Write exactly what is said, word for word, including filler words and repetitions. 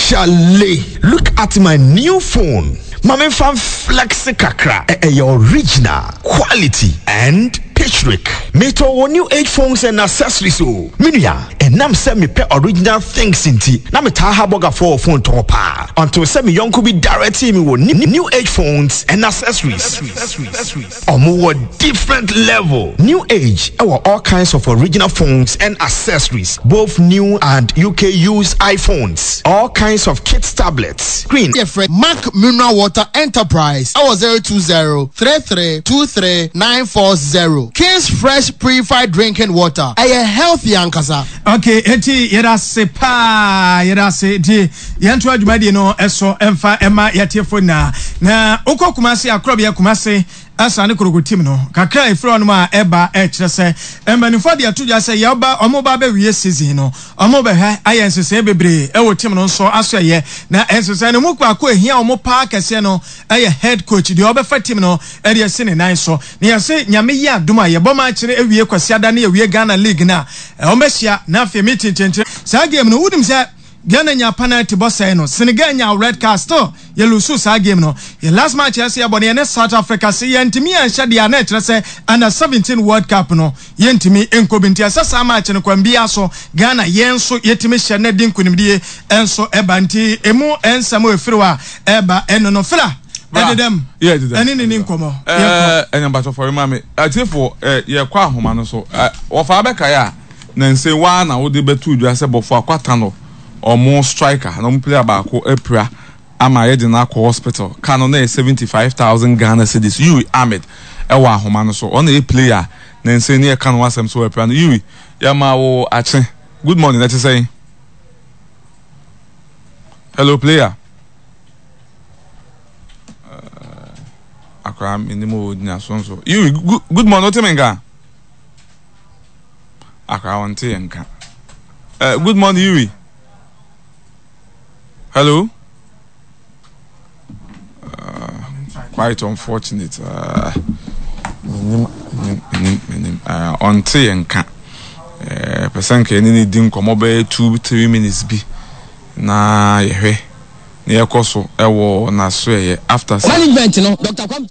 Chale, look at my new phone. Ma memfa flex kakra. Ɛyɛ original, quality and Patrick. Metɔ wɔ New Age Phones and Accessories o. Menua, ɛnam sɛ mepɛ original things nti, na metaa ha bɔgafoɔ wɔ phone tɔn paa. Until sɛ me yɔnko bi direct me wɔ New Age Phones and Accessories. Ɔmo wɔ different level. New Age ɛwɔ all kinds of original phones and accessories, both new and U K used iPhones, all kinds of kids tablets, screen. Yɛfrɛ Mark Mineral Water Enterprise ɛwɔ zero two zero three three two three nine four zero. King's Fresh Purified Drinking Water, ɛyɛ healthy ankasa. Okay, eti yɛda ase paa, yɛda ase. Nti yɛnto adwumadie no ɛso ɛmfa ɛma yɛtiefo nyinaa. Na wokɔ Kumase, akorɔbea Kumase Asa ne Kotoko team no kakra efiri hɔnom a ɛba, ɛkyerɛ sɛ mpanimfoɔ de ato dwa sɛ yɛba, ɔmo ba bɛwie season no, ɔmo bɛhwɛ ayɛ nhyehyɛe bebree ɛwɔ team no nso aso. Ɛyɛ na nhyehyɛe no mu baako ehia ɔmo paa kɛseɛ no ɛyɛ head coach deɛ ɔbɛfa team no ɛde ɛsi ne nan so. Na yɛsɛ Nyame yi adum a yɛbɔ match no ewie Kwasiada ne yɛwie Ghana League na ɔmo bɛhyia na afei meeting kyɛnkyɛn saa game no. Wunim sɛ Ghana nya penalty bɔ sɛɛ no, Senegal nya red card, still yɛ lose saa game no. Yɛ last match yɛsɛ yɛbɔ no yɛne South Africa, sɛ yɛntumi anhyɛ deɛ a, na ɛkyerɛ sɛ Under seventeen World Cup no yɛntumi nkɔ bi. Nti ɛsɛ saa match no kwan biara so Ghana yɛn nso yɛtumi hyɛ na di nkonimdie nso ɛba. Nti emu nsɛm a efiri hɔ a ɛba ɛno no fila ɛdedam ɛne ne ne nkɔmɔ. Ɛɛ, ɛnyɛ mbatɔfɔre ma mi atiefo ɛ yɛkɔ ahoma no so ɛ wɔfa abɛkae a na nse waa na wode bɛto dwa sɛ Bofoakwa Tano ɔmo striker na ɔmo player baako apira ama yɛde no akɔ hospital. Ka no na yɛ seventy five thousand Ghana cedis. Yuri Ahmed ɛwɔ ahoma no so, ɔno yɛ player na nse ne yɛka no asɛm so apira no. Yuri, yɛma wo akye, good morning. Ɛte sɛn? Hello, player. Uh, akora menim o gyina so nso. Yuri, good, good morning. Wote me nka? Akora wɔnte yɛ nka. uh, good morning, Yuri. Hello. uh, quite unfortunate. uh, menim menim menim uh, ɔnte yɛ nka. Pɛ sɛ nka ɛne ne di nkɔmmɔ bɛyɛ two three minutes bi na yɛhwɛ na yɛkɔ so ɛwɔ n'aso ɛyɛ after. Management no, Doctor Kwame.